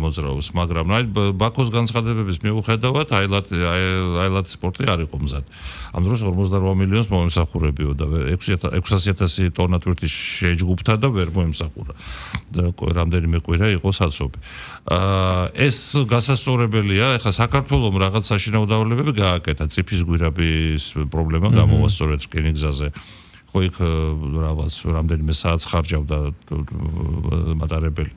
მოძრაობს, მაგრამ ბაქოს განცხადებების მიუხედავად აილად სპორტი არ იყო მზად. ამ დროს 48 მილიონს მომემსახურებიოდა 600,000 ტონა ტვირთის შეჯგუფთა და ვერ მომემსახურა. რამდენიმე კვირა იყო საცობი. ეს გასასწორებელია, ეხლა საქართველოს რაღაც საშინაო დავლებები გააკეთა, წიფის გვირაბის პრობლემა გამოვა სწორედ რკინიგზაზე. ხო იქ რამდენიმე საათს ხარჯავდა მატარებელი.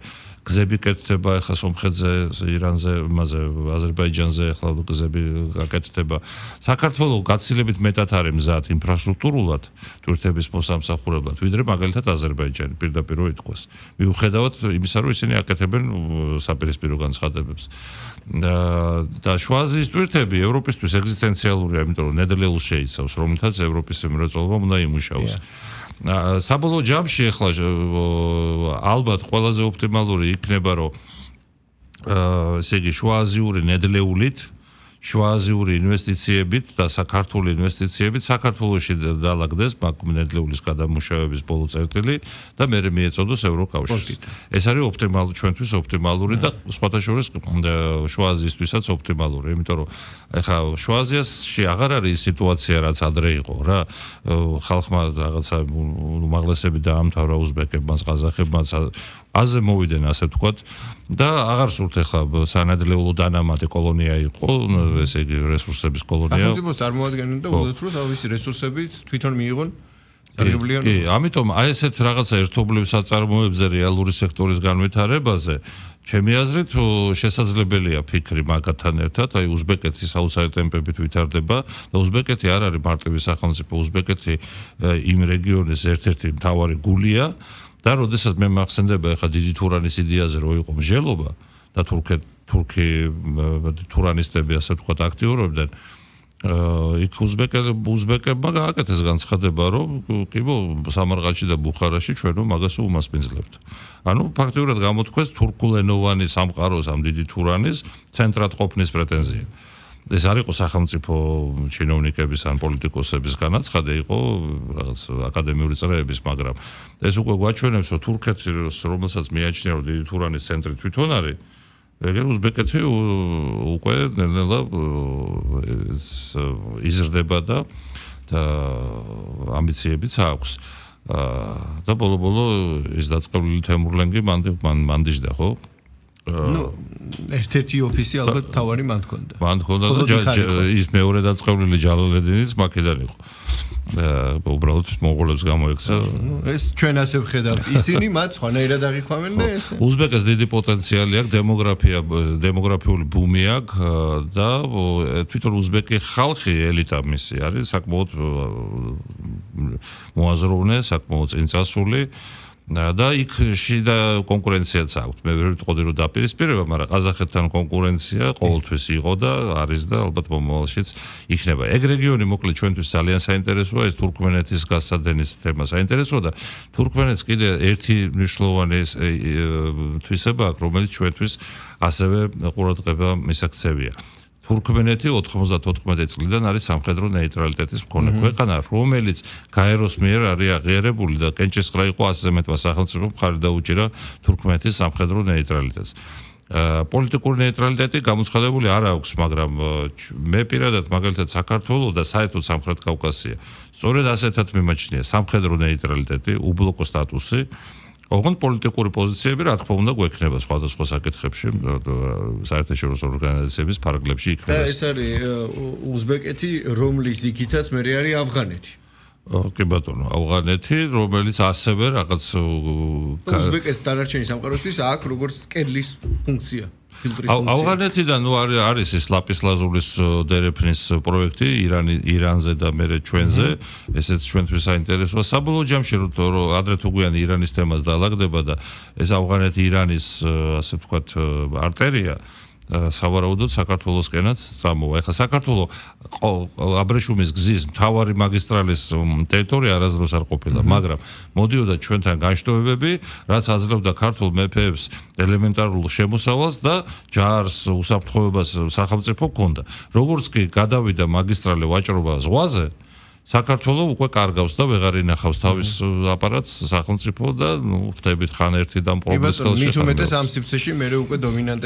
გზები კეთდება ეხლა სომხეთზე, ირანზე, იმაზე, აზერბაიჯანზე ეხლა გზები გაკეთდება. საქართველოს გაცილებით მეტად არის მზად ინფრასტრუქტურულად ტვირთების მოსამსახურებლად, ვიდრე მაგალითად აზერბაიჯანი, პირდაპირ ითქვას. მიუხედავად იმისა, რომ ისინი აკეთებენ საპირისპირო განცხადებებს. და შუა აზიის ტვირთები ევროპისთვის ეგზისტენციალურია, იმიტომ რომ ნედლეულს შეიცავს, რომლითაც ევროპის მრეწველობა უნდა იმუშაოს. საბოლოო ჯამში ახლა ალბათ ყველაზე ოპტიმალური იქნება რომ ესე იგი შუააზიური ნედლეულით შუააზიური ინვესტიციებით და საქართველოს ინვესტიციებით საქართველოში დაალაგდეს ნედლეულის გადამუშავების ბოლო წერტილი და მერე მიეწოდოს ევროკავშირს. ეს არის ჩვენთვის ოპტიმალური და სხვათა შორის შუააზიისთვისაც ოპტიმალური, იმიტომ რომ ეხლა შუააზიაში აღარ არის სიტუაცია რაც ადრე იყო რა. ხალხმა რაღაცა უმაღლესები დაამთავრა უზბეკებმა, ყაზახებმაც აზე მოვიდნენ ასე ვთქვათ და აღარ სურთ ეხლა სანადლეულო დანამატი კოლონია იყო, ესე იგი რესურსების კოლონია. სახელმწიფოს წარმოადგენენ და უდოთ რომ თავისი რესურსებით თვითონ მიიღონ სარგებლიან. კი, ამიტომ აი ესეთ რაღაცა ერთობლივ საწარმოებზე რეალური სექტორის განვითარებაზე ჩემი აზრით შესაძლებელია ფიქრი მაგათთან ერთად, აი უზბეკეთის აუცილებლად ტემპებით ვითარდება და უზბეკეთი არ არის მარტივი სახელმწიფო, უზბეკეთი იმ რეგიონის ერთ-ერთი მთავარი გულია. და როდესაც მე მახსენდება ახლა დიდი თურანის იდეაზე რომ იყო მსჯელობა და თურქი თურანისტები ასე ვთქვათ აქტიურობდნენ იქ უზბეკებმა გააკეთეს განცხადება რომ კიბო სამარყანდში და ბუხარაში ჩვენო მაგას უმასპინძლებთ. ანუ ფაქტიურად გამოთქვეს თურქულენოვანი სამყაროს ამ დიდი თურანის ცენტრად ყოფნის პრეტენზია. ეს არ იყო სახელმწიფო ჩინოვნიკების ან პოლიტიკოსების განაცხადი, იყო რაღაც აკადემიური წრეების, მაგრამ ეს უკვე გვაჩვენებს, რომ თურქეთი, რომელსაც მიაჩნია, რომ დიდი თურანის ცენტრი თვითონ არის, ეგრე უზბეკეთი უკვე ნელა იზრდება და ამბიციებიც აქვს. და ბოლო-ბოლო ის დაწყებული თემურლენგი მანდიჟდა, ხო? ერთ-ერთი ოფისი ალბათ თავარი მან ჰქონდა. მან ჰქონდა და ის მეორე დაწყებული ჯალალედინიც მაქედან იყო. უბრალოდ მონღოლებს გამოექცა. ეს ჩვენ ასე ვხედავთ. ისინი მათ სხვანაირად აღიქვამენ და ეს. უზბეკეთს დიდი პოტენციალი აქვს, დემოგრაფიული ბუმი აქვს და თვითონ უზბეკი ხალხი ელიტა მისი არის, საკმაოდ მოაზროვნე, საკმაოდ წინწასული. და იქ შიდა კონკურენციაც აქვს. მე ვერ ვიტყოდი რომ დაპირისპირება, მაგრამ ყაზახეთთან კონკურენცია ყოველთვის იყო და არის და ალბათ მომავალშიც იქნება. ეგ რეგიონი მოკლედ ჩვენთვის ძალიან საინტერესოა, ეს თურქმენეთის გასადენის თემა საინტერესოა და თურქმენეთს კიდე ერთი მნიშვნელოვანი თვისება აქვს, რომელიც ჩვენთვის ასევე ყურადღება მისაქცევია. თურქმენეთი 94 წლიდან არის სამხედრო ნეიტრალიტეტის მქონე ქვეყანა, რომელიც გაეროს მიერ არის აღიარებული და კენჭისყრა იყო 100-ზე მეტმა სახელმწიფომ მხარი დაუჭირა თურქმენეთის სამხედრო ნეიტრალიტეტს. პოლიტიკური ნეიტრალიტეტი გამოცხადებული არ აქვს, მაგრამ მე პირადად მაგალითად საქართველოს და საერთოდ სამხრეთ კავკასია სწორედ ასეთად მიმაჩნია სამხედრო ნეიტრალიტეტი, უბლოკო სტატუსი. ოღონდ პოლიტიკური პოზიციები რა თქმა უნდა გვექნება სხვადასხვა საკითხებში საერთაშორისო ორგანიზაციების ფარგლებში იქნება. ეს არის უზბეკეთი, რომლის ზიქითაც მე არის ავღანეთი. კი ბატონო, ავღანეთი, რომელიც ასევე რაღაც უზბეკეთის დანარჩენი სამყაროსთვის აქვს როგორც კედლის ფუნქცია. ავღანეთიდან არის ეს ლაპისლაზურის დერეფნის პროექტი ირანზე და მერე ჩვენზე, ესეც ჩვენთვის საინტერესოა. საბოლოო ჯამში რომ ადრე თუ გვიანი ირანის თემას დაალაგდება და ეს ავღანეთი ირანის ასე ვთქვათ არტერია სავარაუდოდ საქართველოსკენაც წამოვა. ეხლა საქართველოს აბრეშუმის გზის მთავარი მაგისტრალის ტერიტორია არასდროს არ ყოფილა, მაგრამ მოდიოდა ჩვენთან განშტოებები, რაც აძლევდა ქართულ მეფეებს ელემენტარულ შემოსავალს და ჯარს უსაფრთხოებას სახელმწიფო ჰქონდა. როგორც კი გადავიდა მაგისტრალი ვაჭრობა ზღვაზე, საქართველოს უკვე კარგავს და ვეღარ ინახავს თავის აპარატს სახელმწიფო და ხდებით ხან ერთი და პრობლემის ხელში. მით უმეტეს ამ სივრცეში მე უკვე დომინანტები